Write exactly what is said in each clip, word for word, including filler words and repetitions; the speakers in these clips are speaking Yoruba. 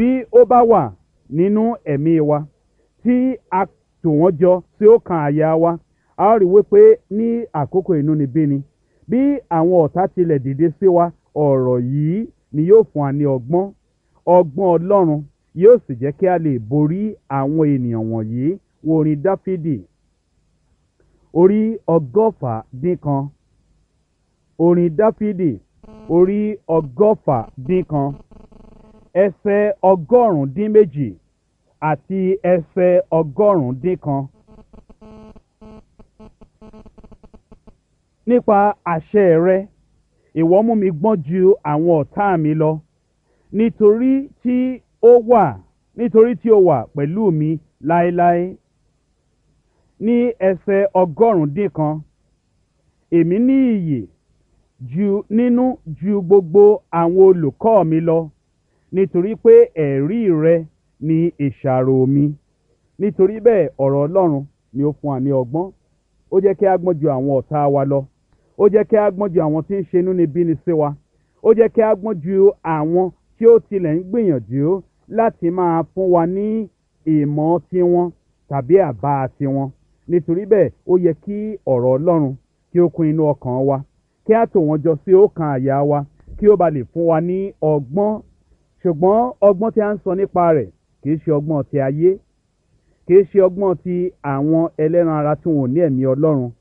Bí ó bá wà nínú ẹ̀mí wa tí a tò wọ́n jọ tí ó kan àyà wa, a ó rí wípé ní àkókò inúnibíni, bí àwọn ọ̀tá tilẹ̀ dìde sí wa, ọ̀rọ̀ yìí ni yóò fún wa ní ọgbọ́n. Ọgbọ́n Ọlọ́run yóò sì jẹ́ kí a lè borí àwọn ènìyàn wọ̀nyí. Wo orin Dáfídì orí ọgọ́fà dín kan. Orin Dáfídì orí ọgọ́fà dín kan, ẹsẹ̀ ọgọ́rùn-ún dín méjì àti ẹsẹ̀ ọgọ́rùn-ún dín kan. Nípa àṣẹ rẹ, ìwọ mú mi gbọ́n ju àwọn ọ̀tá mi lọ, nítorí tí ó wà, nítorí tí ó wà pẹ̀lú mi láéláé. Ní ẹsẹ̀ ọgọ́rùn-ún dín kan, èmi ní iyì ju nínú ju gbogbo àwọn olùkọ́ mi lọ, nítorí pé ẹ̀rí rẹ ni ìṣàrò mi. Nítorí bẹ́ẹ̀, ọ̀rọ̀ Ọlọ́run ni ó fún wa ní ọgbọ́n. Ó jẹ́ kí a gbọ́n ju àwọn ọ̀tá wa lọ. Ó jẹ́ kí a gbọ́n ju àwọn tí ń ṣe inúnibíni sí wa. Ó jẹ́ kí a gbọ́n ju àwọn tí ó tilẹ̀ ń gbìyànjú láti máa fún wa ní ìmọ̀ tiwọn tàbí àbá tiwọn. Nítorí bẹ́ẹ̀, ó yẹ kí ọ̀rọ̀ Ọlọ́run kí ó kún inú ọkàn wa, kí a tò wọ́n jọ sí ọkàn àyà wa, kí ó ba lè fún wa ní ọgbọ́n. Ṣùgbọ́n ọgbọ́n tí a ń sọ nípa rẹ̀ kì í ṣe ọgbọ́n ti ayé, kì í ṣe ọgbọ́n ti àwọn ẹlẹ́ran ara tí wọn ò ní ẹ̀mí Ọlọ́run.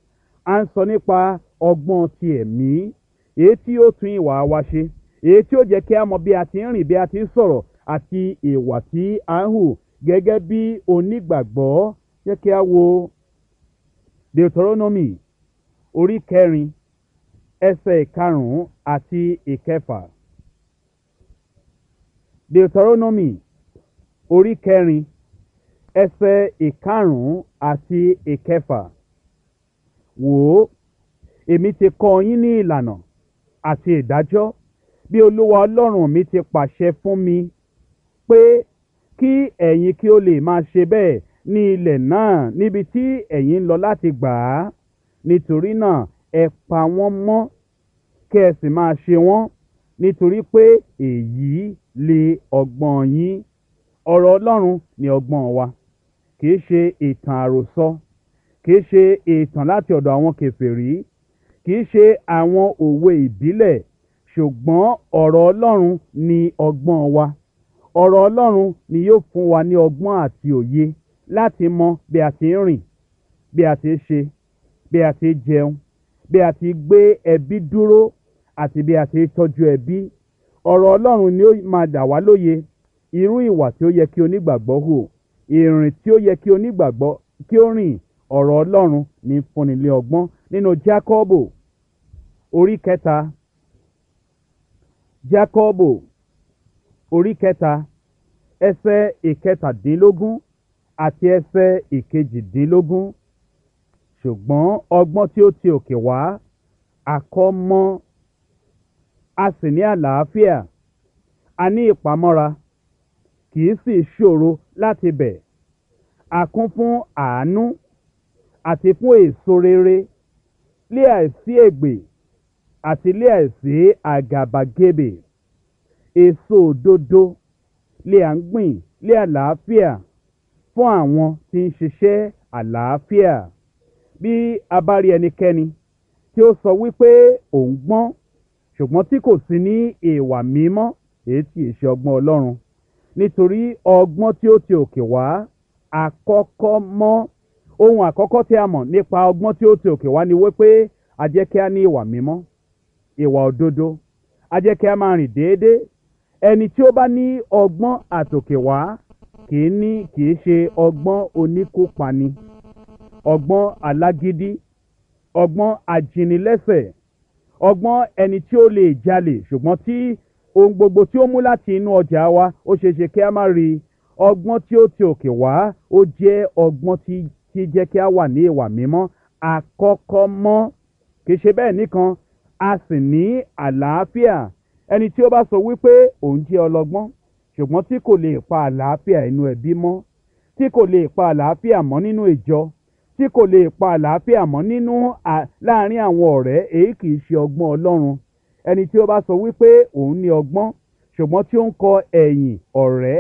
A ń sọ nípa ọgbọ́n ti ẹ̀mí, èyí tí ó tún ìwà wa ṣe, èyí tí ó jẹ́ kí a mọ bí a ti ń rìn, bí a ti ń sọ̀rọ̀ àti ìwà tí a ń hù gẹ́gẹ́ bí onígbàgbọ́. Jẹ́ kí a wo Deuteronomy orí kẹrin, ẹsẹ̀ ìkarùn-ún àti ìkẹfà. Deuteronomy orí kẹrin, ẹsẹ̀ ìkarùn-ún àti ìkẹfà. Wò ó, èmi ti kọ́ yín ní ìlànà àti ìdájọ́ bí Olúwa Ọlọ́run mi ti pàṣẹ fún mi pé kí ẹ̀yin kí ó lè máa ṣe bẹ́ẹ̀ ní ilẹ̀ náà níbi tí ẹ̀yin ń lọ láti gbà á. Nítorí náà ẹ pa wọ́n mọ́ kí ẹ sì máa ṣe wọ́n, nítorí pé èyí lè ọgbọ́n yín. Ọ̀rọ̀ Ọlọ́run ni ọgbọ́n wa, kì í ṣe ìtàn àròsọ, kì í ṣe ìtàn láti ọ̀dọ̀ àwọn kèfèrí, kì í ṣe àwọn òwe ìbílẹ̀, ṣùgbọ́n ọ̀rọ̀ Ọlọ́run ni ọgbọ́n wa. Ọ̀rọ̀ Ọlọ́run ni yóò fún wa ní ọgbọ́n àti òye láti mọ bí a ti ń rìn, bí a ti ń ṣe, bí a ti ń jẹun, bí a ti gbé ẹbí dúró àti bí a ti ń tọ́jú ẹbí. Ọ̀rọ̀ Ọlọ́run ni ó máa dà wá lóye irú ìwà tí ó yẹ kí onígbàgbọ́ hù, ìrìn tí ó yẹ kí onígbàgbọ́ kí ó rìn. Ọ̀rọ̀ Ọlọ́run ní fúnni ní ọgbọ́n. Nínú Jákọ́bù orí kẹta, Jákọ́bù orí kẹta, ẹsẹ̀ ìkẹtàdínlógún àti ẹsẹ̀ ìkejìdínlógún. Ṣùgbọ́n ọgbọ́n tí ó ti òkè wá, àkọ́ mọ́, a sì ní àlàáfíà, a ní ìpamọ́ra, kì í sì ṣòro láti bẹ̀. A kún fún àánú àti fún èso rere, lé àìsí ègbè àti lé àìsí àgàbàgebè. Èso òdodo lé à ń gbìn lé àlàáfíà fún àwọn tí ń ṣiṣẹ́ àlàáfíà. Bí a bá rí ẹnikẹ́ni tí ó sọ wípé òun gbọ́n, ṣùgbọ́n tí kò sí ní ìwà mímọ́, èyí tí ì ṣe ọgbọ́n Ọlọ́run. Nítorí ọgbọ́n tí ó ti òkè wá, àkọ́kọ́ mọ́. Ohun àkọ́kọ́ tí a mọ̀ nípa ọgbọ́n tí ó ti òkè wá ni wípé a jẹ́ kí a ní ìwà mímọ́, ìwà òdodo, a jẹ́ kí a máa rìn déédéé. Ẹni tí ó bá ní ọgbọ́n àtòkè wá kì í ní kì í ṣe ọgbọ́n oníkópani, ọgbọ́n alágídí, ọgbọ́n ajínilẹ́sẹ̀, ọgbọ́n ẹni tí ó lè jalè ṣùgbọ́n tí ohun gbogbo tí ó mú láti inú ọjà wa ó ṣeé ṣe kí a má rí i. Ọgbọ́n tí ó ti òkè wá ó jẹ́ ọgbọ́n tí tí jẹ́ kí a wà ní ìwà mímọ́ àkọ́kọ́ mọ́. Kì í ṣe bẹ́ẹ̀ nìkan, a sì ní àlàáfíà. Ẹni tí ó bá sọ wípé òun jẹ́ ọlọ́gbọ́n ṣùgbọ́n tí kò lè pa àlàáfíà inú ẹbí mọ́, tí kò lè pa àlàáfíà mọ́ nínú ìjọ, tí kò lè pa àlàáfíà mọ́ nínú à láàárín àwọn ọ̀rẹ́, èyí kì í ṣe ọgbọ́n Ọlọ́run. Ẹni tí ó bá sọ wípé òun ní ọgbọ́n ṣùgbọ́n tí ó ń kọ ẹ̀yìn ọ̀rẹ́